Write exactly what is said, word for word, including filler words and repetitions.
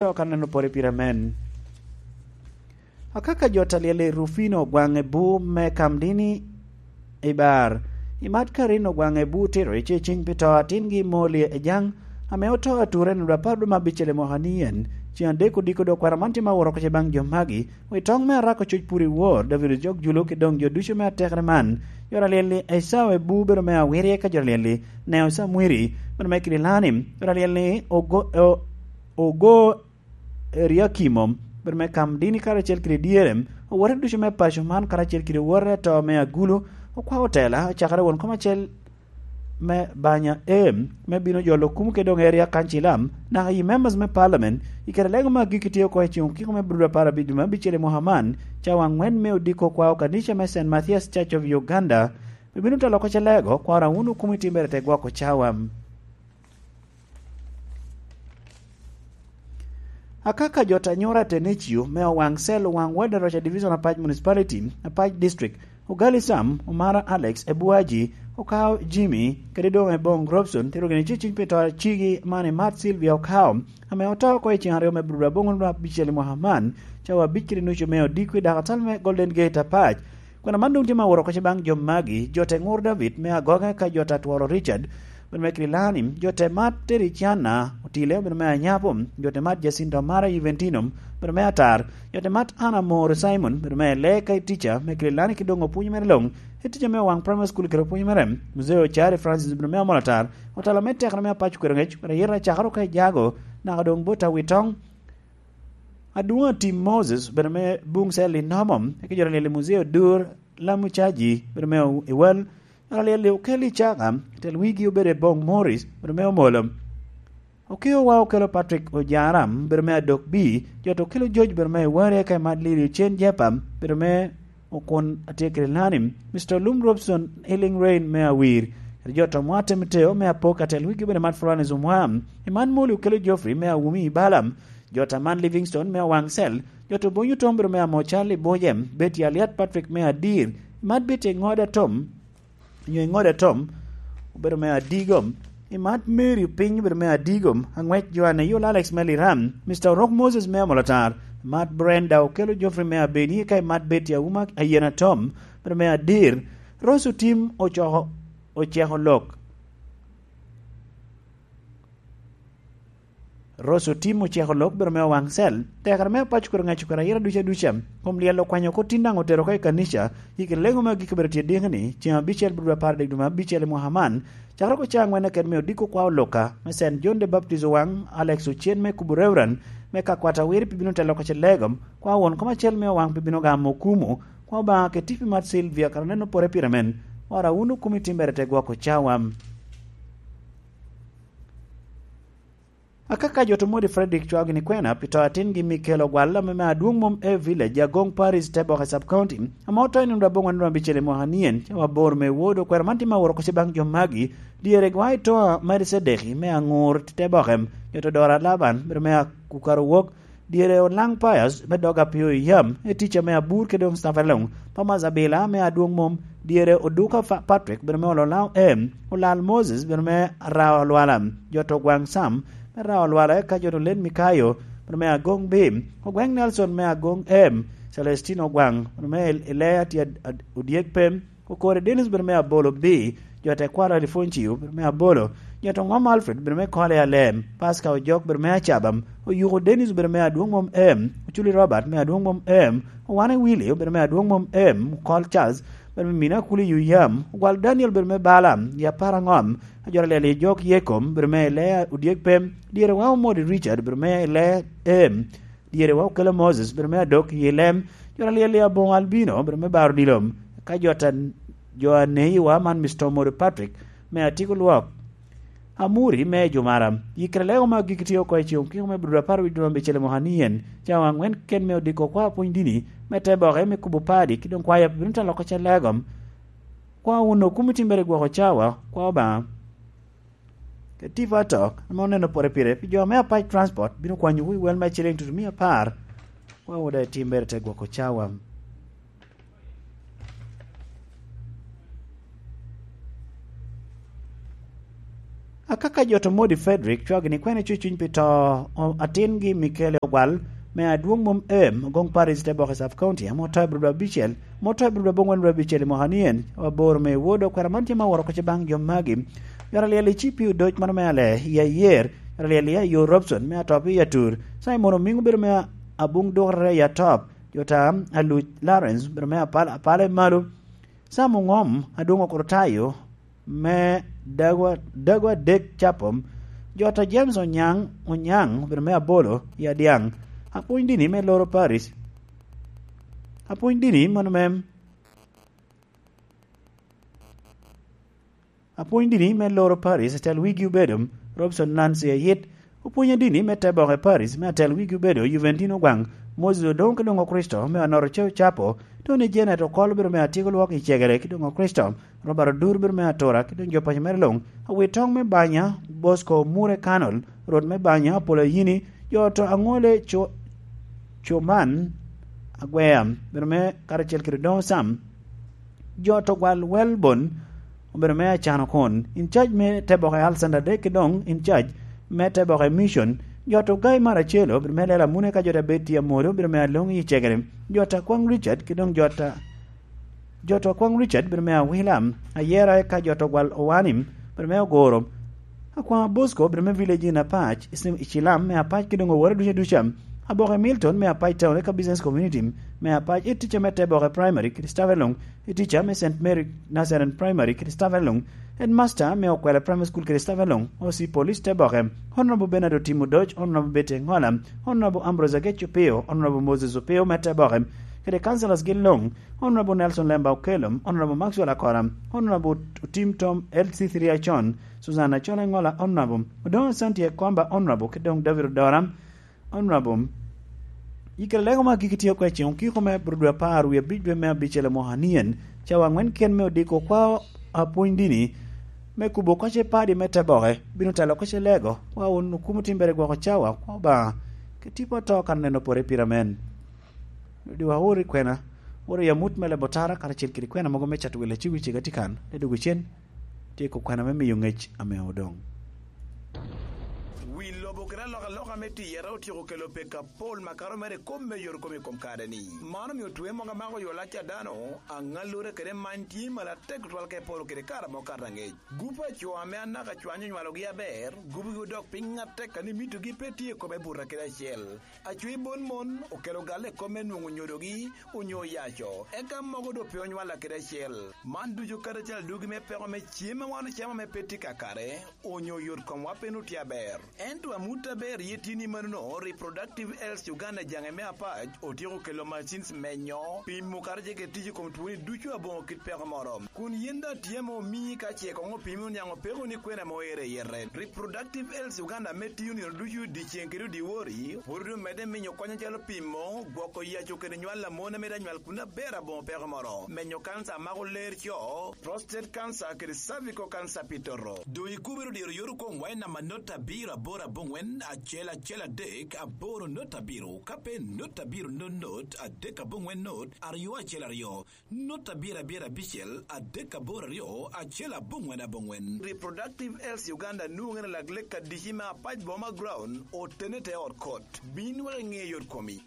Dok aneno pore pire men. Akaka jo talyel i Rufino gwaŋe bu me Kamdini i bar. I mat Karin ogwaŋe bu tito i ce cing pi to atingi Moli Ejaŋ, ame oto ature nino apar dwe me abicel i mwaka ni en. Ceng adek odiko dok kwero man tye ma woro kece baŋ jo magi. Wi toŋ me Arako Coc Puri Wor, David Ojok Julu ki doŋ jo ducu me atekere man. Jo talyel-li Esau Ebu bedo me Awirye ka jo talyel-li Neo Samwiri bedo me Kidilani. Jo talyel-li Ogo, o-, Ogo Eriakimo bedo me Kamdini karacel kede dyere. Owote ducu me paco man karacel kede owote ato me Agulu, okwa otela, ocakere won kom acel me Banya A, me bino jolo kum kede doŋ Area Council, naka i members me Parliament, i kare lego me agikki tye oko i ceŋ okiko me Abril apar abic dwe me abicel i mwaka man, cawa aŋwen me odiko kwao kanica me Saint Matthias Church of Uganda, bibino telo oko ce lego, kwaro awun okum i timbere te gwoko cawa. Akaka jo ta nyura Tenecio me Owaŋ Cell, Owaŋ Ward, Roca Division, Apac Municipality, Apac District, Ogali Sam, Omara Alex, Ebuaji, Okao Jimmy, kede doŋ Ebong Robson, tero gini ciciny pi to acigi man i Mat Sylvia Okao, ame oto oko i ceng aryo me Abril aboŋo nino abicel i mwaka man, cawa abic kede nucu me odiko i dakatal me Golden Gate Apac. Kwena man doŋ tye ma woro oko ce baŋ jo magi, jo te ŋur David me Agoge ka jo ta tworo Richard, bedo me Kililani, jo te mat Tericiana Otile, bedo me Anyapo, jo te mat Jacinto Mara Juventino, bedo me Atar, jo te mat Anna Moro Simon, bedo me Ele ka i tica me Kililani ki doŋ opwony mere loŋ, i tica me Owaŋ Primary School kede opwony mere, Mzee Ochare Francis, bedo me Amolo Atar, otelo me tekere me Apac Kwero Ŋec, bedo yero acakaro ka i Jago, naka doŋ bot Awitoŋ, Adwoŋ Atim Moses, bedo me Buŋ Cell i Nomo, eka jo ta lyel i Muzee Odur, Lamu Caji, bedo me Ewal, jo ta lyel i Okello Icaka, tel wigi obedo Ebong Morris, bedo me Omolo. Okeowa Okello Patrick Ojara, bedo me Adok B, jo ta Okello George, bedo me Eware, eka i Mat Lili Ocen Jepa, bedo me Okun Atekere Lani, Mister Olum Robson, Healing Rain me Awir, kede jo ta Mwate Miteo me Apok, atel wigi obedo Mat Florence Omwa, i Man Moli Okello Geoffrey me Awumi i Bala, jo ta Man Livingstone me Owaŋ Cell, jo ta Obonyo Tom bedo me Amo Charlie Bojem, Betty Aliat Patrick me Adir, i Mat Betty Eŋoda Tom, nyo Eŋoda Tom, obedo me Adigom, i Mat Mary Piny obedo me Adigom, Aŋwec Joanne Yul Alex me Liram, Mister Orok Moses me Amolatar, i Mat Brenda Okello Geoffrey me Abeni, eka i Mat Betty Auma Ayena Tom, obedo me Adir, Rose Otim Ocoko, Oceko Lok. Rose Otim Oceko Lok bedo me Owaŋ Cell, tekere me Apac Kwero Ŋec Kwero Ayira duca duca, kom lyel okwanyo oko tin daŋ otero oko i kanica, i kine lego me agikki bedo tye diki ni, ceng abicel bro apar dek dwe me abicel i mwaka man, cakere oko caa aŋwen aket me odiko kwa oluka, me Saint John the Baptist Owaŋ, Alex Ocen me kubo Reverend, me ka kwat awiri pi bino telo oko ce lego, kwa won kom acel me Owaŋ pi bino gamo okumu, kwa Obaŋa keti pi mat Sylvia kara neno pore pire men, wara wun okumi timbere te gwoko cawa. Akaka jo Tomodi Frederick cwao gini kwena pi to atingi Mikel Ogwal ame me Adwoŋ Mom A Village, Agoŋ Parish, Teboke Sub County, ame oto i nino aboŋwen dwe abicel i mwaka nien, cawa aboro me wod okwero man tye ma woro oko ce baŋ jo magi, dyere gwa i to a Melcedeki me Aŋur, Teboke, jo to Dora Laban, bedo me Akukaro Wok, dyere Olaŋ Pius me dog Apio i yam, i tica me Abur kede doŋ Stephen Long, Thomas Abila me Adwoŋ Mom, dyere Oduka Fa-, Patrick, bedo me Olola M, Olal Moses, bedo me Rao Lwala, jo to Gwaŋ Sam, me Rao Lwala, eka jo to Len Mikayo, bedo me Agoŋ B, Ogweŋ Nelson me Agoŋ M, Celestino Gwaŋ, bedo me Ilea tye ad-, ad-, Odyek Pem, Okore Dennis bedo me Abolo B, jo tekwaro Alifoncio bedo me Abolo, jo to Ŋom Alfred bedo me Kole Alem, Pasca Ojok bedo me Acabam, Oyuko Dennis bedo me Adwoŋ Mom M, Oculi Robert me Adwoŋ Mom M, Owane Willy obedo me Adwoŋ Mom M, Okol Charles bedo me Mina Kuli Yuyam, Ogwal Daniel bedo me Bala, Yapara Ŋom, Ajora Leli Jok Yekom bedo me Ilea Odyek Pem, dyere wa Omodi Richard bedo me Ilea M, dyere wa Okelo Moses bedo me Adok i Lem, jo ta lyel i Aboŋo Albino bedo me Baro Dilom, ka jo ta, jo a neyi wa man Mister Omori Patrick me Atiko Lwok, Amuri me Jumara, yikere lego ma gigi tye oko i ceŋ okiko me Bruda apar wic dwe abicel i mwaka ni en, cawa aŋwen ken me odiko kwa pwony dini, me te boke me kubo padi, ki doŋ kwaya bino te loko ce legom, kwa wun okum itimbere gwoko cawa, kwa Obaŋa. Ketipo atok, ame oneno pore pire, pi jo me Apac Transport bino kwanyowu i wel me ciliŋ tutumia apar, wa oda itimbere te gwoko cawa. Akaka jo to Modi Frederick cwagi ni kwene cucuny pi to o- atingi Michele Ogwal me adwoŋ mom em Ogoŋ Paris te boke Sub County ame oto i Bulobulo abicel, ame oto i Bulobulo aboŋwen Bulobulo abicel i mwaka ni en, aboro me wod okwera man tye ma woro kocci baŋ jo magi. Yot alyel i C P U doc mano me ale i ayer, yot alyel i ayo Robson me atop i atur, Simon Omiŋ obedo me abuŋ dukere i atop, jo ta Aluc Lawrence obedo me apal apala i malo, Sam Oŋom adwoŋ okuro tayo me dago, dago adek capom, jo ta James Onyaŋ, Onyaŋ obedo me abolo i adyaŋ, apwony dini me loro Paris, apwony dini mano me, apwony dini me loro Paris, atel wigi obedo Robson Nancy Ayit, opwony adini me te boke Paris, me atel wigi obedo Juventino Gwaŋ, Moses Odoŋ ki doŋ Okristo me Anoro Ceu Capo, Tony Janet Okol obedo me atyeko lwok i Cegere ki doŋ Okristo, Robert Odur obedo me Atura ki doŋ jo paco mere luŋ, Awitoŋ me Banya, Bosco Mure Kanol, Rwot me Banya, Apolo Ayini, jo to Aŋole Co-, Coman Agwea, obedo me karacel kede Odoŋo Sam, jo to Gwal Welbon, obedo me Acano Kun, in charge me te boke Alexander Dek, ki doŋ in charge me te boke Mission, jo to Gai Maracelo, obedo me Lela Mune ka jo ta Beti Amoro, obedo me Aloŋ i Cegere, jo ta Kwaŋ Richard, ki doŋ jo ta, jo to Kwaŋ Richard, obedo me Awila, Ayera eka jo to Gwal Owanim, obedo me Ogoro, Akwaŋ Bosco, obedo me Village in Apac, i Sim-, i Cilam me Apac, ki doŋ owore duca duca, Aboke Milton me Apac Town, eka Business Community me Apac, i tica me te boke Primary, kede staff eloŋ, i tica me Saint Mary Nazarene Primary kede staff eloŋ, headmaster me Okwela Primary School kede staff eloŋ, O C Police te boke, Honorable Bernard Otim Odoc, Honorable Betty Engola, Honorable Ambrose Agech Opio, Honorable Moses Opio me te boke, kede councillors gi luŋ, Honorable Nelson Lemba Okello, Honorable Maxwell Akora, Honorable Otim Tom L C three Acon, Susan Acon Engola, Honorable Odoŋo Santi Ekomba, Honorable, kede doŋ David Odora, Honorable, i kare lego ma agikki tye oko i ceŋ okiko me Abril dwe apar wie abic dwe me abicel i mwaka nien, cawa aŋwen ken me odiko kwa apwony dini me kubo kocce padi me te boke, bino telo kocce lego, kwa wun okumo timbere gwoko cawa, kwa Obaŋa, ke tipo ato kan neno pore pire amen. Rwodi wa ori kwena, ori amut me lebo tara karacel kede kwena mogo me cato wele cigo cega tye kan, le dogo cen, tye ko kwena me miyo ŋec ame odoŋ. Wi lobo kede alokaloka me tiyere otyeko kelo pek apol makato mere i kop me yot kom i kom kare-ni. Man omio twe mogo amako yo lac a dano, aŋallure kede many tye malo atek tutwal ka iporo kede kare amo kato aŋec. Gup a co ame anaka cwany onywalogi aber, gubogi odok piny atek a ni mitogi pe tye i kome buto kede acel. Acwe bon mon okelo galle i kop me nwoŋo nyodogi onyo oyaco, eka mogo doŋ pe onywalla kede acel. Man ducu kadi acel adugi me peko me cem a wan ocamo ame pe tye kakare, onyo yot komwa pe nut tye aber. Ento amut aber ye tye ni manono, Reproductive Health Uganda jaŋe me apac otyeko kelo machines menyo, pimo kato ce kede tic i kom twoni ducu aboŋo kit peko moro. Kun yin daŋ tye ame omii ka ce koŋ opimi oniaŋ opeko ni kwena ame oero i yete. Reproductive Health Uganda ame tiyo nino ducu dyeceŋ kede dyewor, pwod omedde miyo kony acalo pimo, gwoko yaco kede nywal a mon ame daŋ nywal kun aber aboŋo peko moro, menyo kanca a mako ler co, prostate cancer kede cervical cancer pi toto. Doŋ ikubere odiro yot okoŋ wa i namba not abiro aboro aboŋwen acel acel adek aboro not abiro, ka pe not abiro not not adek aboŋwen not aryo acel aryo. Not abiro abiro abicel adek aboro aryo acel aboŋwen aboŋwen. Reproductive Health Uganda nwoŋere lak lek adici me apac boma ground otene te ot kot. Bin wek iŋe yot komi.